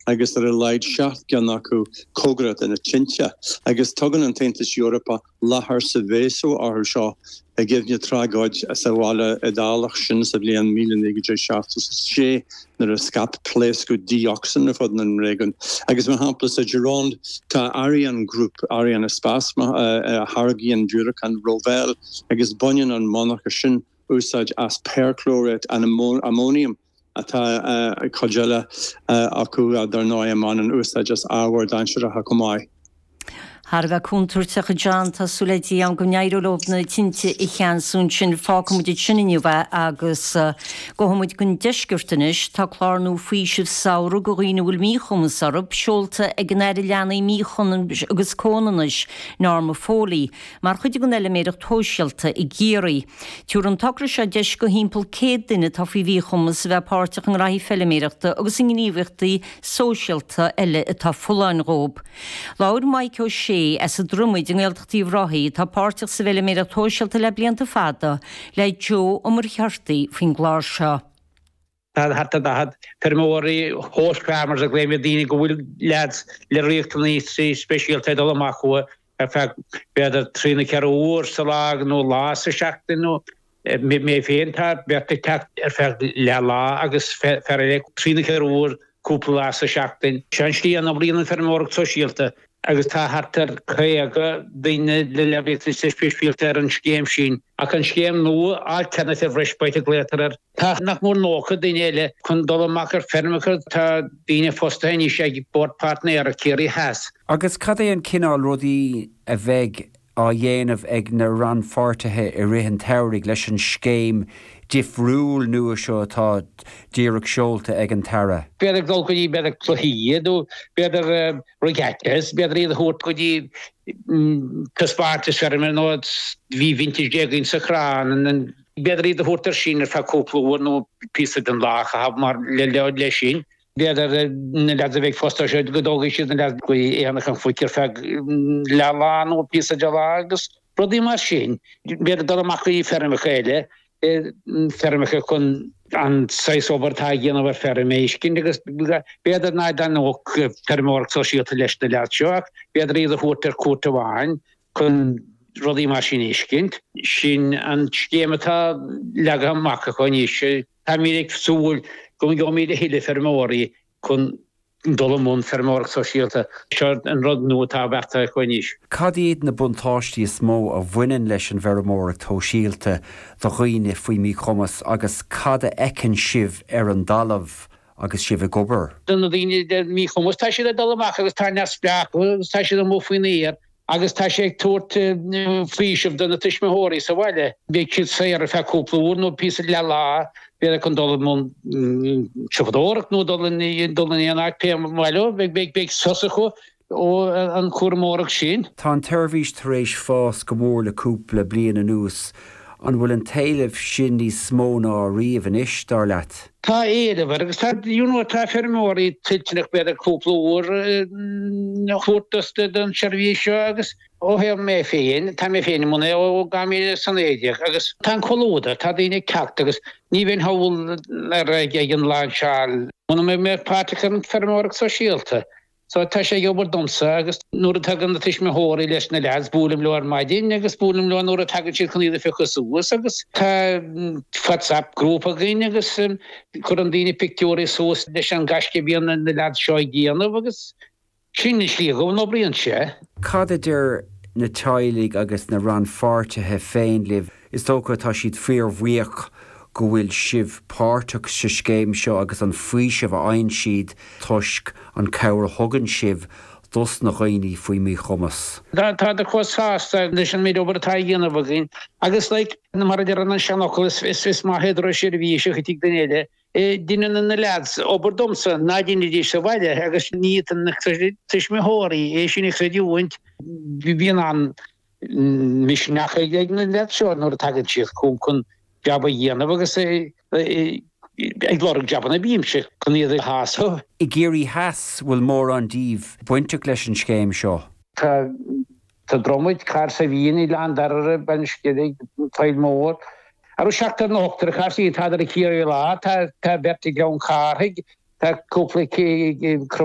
Agus ar a laghad 7 gceann acu cóngarach do na tinte. Agus tugann an tAontas Eorpach láthair Seveso orthu seo i gcuimhne tragóid sa bhaile Iodálach sin sa bhliain 1976 nuair a scaip pléascadh dí-ocsain ar fud an réigiúin. Agus mar shampla sa Gironde tá Ariane Group, Arianespace, a tháirgíonn diúracáin Rafale agus baineann an monarcha sin úsáid as perchlorate ammonium. Tá cuid eile acu, dar ndóigh, a mbaineann úsáid as ábhair dainséaracha chomh maith. Thar a bheith contúirteach, a John. Tá súil le Dia agam go n-éireoidh leo na tinte a cheansú ansin. Fágfaidh muid ansin inniu é agus gabhfaidh muid don deisceart anois. Tá clár nua faoisimh samhraidh do dhaoine a bhfuil míchumas orthu seolta ag an Aire Leanaí, Míchumais agus Comhionannais, Norma Foley, mar chuid den fheiliméireacht shóisialta i gCiarraí. Tabharfaidh an togra seo deis do thimpeall 100 duine atá faoi mhíchumas a bheith páirteach i ngraithí feiliméireachta agus i ngníomhaíochtaí sóisialta eile atá folláin dhóibh. Labhair Maidhc Ó Sé as an Dromaid i nGaeltacht Uíbh Ráthaigh, atá páirteach sa bhfeiliméireacht shóisialta le blianta fada, le Joe Ó Muircheartaigh faoin gclár seo. Tá thart ar 40 feirmeoirí, host farmers a ghlaoimid, daoine go bhfuil leaids le riachtanais speisialta ag dul amach chucu ar feadh b'fhéidir trí nó ceithre uair sa lá nó lá sa seachtain nó mé féin tá beirt ag teacht ar feadh leath lá agus fear eile trí nó ceithre uair cúpla lá sa seachtain. Seo an slí a n-oibríonn an feirmeoireacht sóisialta agus tá thart ar 50 duine le riachtanais speisialta ar an scéim sin. Ach an scéim nua, Alternative Respite a glaotar air, tá nach mór 90 duine eile chun dul amach ar feirmeacha. Tá daoine fostaithe anois ag Bord Páirtnéireacht Chiarraí Theas. Agus cad é an cineál rudaí a bheidh á dhéanamh ag na rannpháirtithe i rith an tsamhraidh leis an scéim difriúil nua seo atá díreach seolta ag an tAire? B'fhéidir ag dul go dtí, b'fhéidir cluichí nó b'fhéidir regattas, b'fhéidir iad a thabhairt go dtí taispeántas feirme nó bhí vintage againn sa chrann, b'fhéidir iad a thabhairt ar sin ar feadh cúpla uair nó píosa den lá a chaitheamh mar le sin. B'fhéidir na leaids a bheidh fostaithe seo go dtógfaidh siad na leaids go Aonach an Phoic ar feadh leath lá nó píosa de lá agus rudaí mar sin. B'fhéidir dul amach go dtí feirmeacha eile, feirmeacha chun an saghas obair atá á dhéanamh ar feirm a fheiscint agus b'fhéidir ná taitneodh feirmeoireacht sóisialta leis na leaids seo ach b'fhéidir iad a thabhairt ar cuairt amháin chun rudaí mar sin a fheiscint. Sin an scéim atá leagtha amach acu anois. Táimid ag súil go ngeobhaimid a thuilleadh feirmeoirí chun dul i mbun feirmeoireacht sóisialta. Seo an rud nua atá beartaithe acu anois. Cad iad na buntáistí is mó a bhaineann leis an bhfeirmeoireacht shóisialta do dhaoine faoi mhíchumas agus cad a fheiceann sibh ar an dtalamh agus sibh ag obair? Do na daoine le míchumas, tá siad ag dul amach agus tá neamhspleách agus tá siad amuigh faoin aer agus tá sé ag tabhairt faoiseamh do na tuismitheoirí sa bhaile. Beidh siad saor ar feadh cúpla uair nó píosa leath lá, b'fhéidir chun dul i mbun siopadóireacht nó dul in dul in aon áit pé mhaith leo. Beidh sos acu ó an chúramóireacht sin. Tá an tseirbhís tar éis fás go mór le cúpla bliain anuas. An bhfuil an t-éileamh sin níos mó ná riamh anois, dar leat? Tá éileamh air agus tá, you know, tá feirmeoirí toilteanach b'fhéidir cúpla uair a thabhairt don seirbhís seo agus ó thaobh mé féin, tá mé féin i mbun é ó 2019 agus tá an comhluadar, tá daoine ag teacht agus ní bheinn thall ar ag an lainseáil muna mbeadh mé páirteach ar an feirmeoireacht sóisialta. So tá sé ag obair domsa agus nuair a tagann na tuismitheoirí leis na leaids buailim leo ar maidin agus buailim leo nuair a tagann siad chun iad a phiocadh suas agus tá WhatsApp group againn agus cuireann daoine pictiúirí suas leis an gaisce a bhíonn na leaids seo ag déanamh agus sin an slí go n-oibríonn sé. Cad a deir na teaghlaigh agus na rannpháirtithe féin libh? Is dócha tá siad fíorbhuíoch go bhfuil sibh páirteach sa scéim seo agus an faoiseamh a fhaigheann siad toisc an cabhair a thugann sibh dos na dhaoine faoi mhíchumas. Tádar chomh sásta leis an méid obair atá á dhéanamh againn agus like mar a deireann an seanfhocal is maith é doras seirbhíseach i dtigh duine eile. Deineann na leaids obair domsa ná deinidís sa bhaile agus ní fhéadann na tuismitheoirí é sin a chreidiúint. Bíonn an misneach ag na leaids seo nuair a tagann siad chugam chun jab a dhéanamh agus ag lorg jabanna a bímse chun iad a shásamh. I gCiarraí Theas, bhfuil mórán díobh bainteach leis an scéim seo? Tá sa Dromaid, Cahersiveen, Oileán Dairbhre, Bean Sceilg, Faill Mór. Ar seachtar nó ochtar i Cahersiveen, tádar i Ciarraí Láir, tá beirt i gCeann Cárthaigh, tá cúpla i.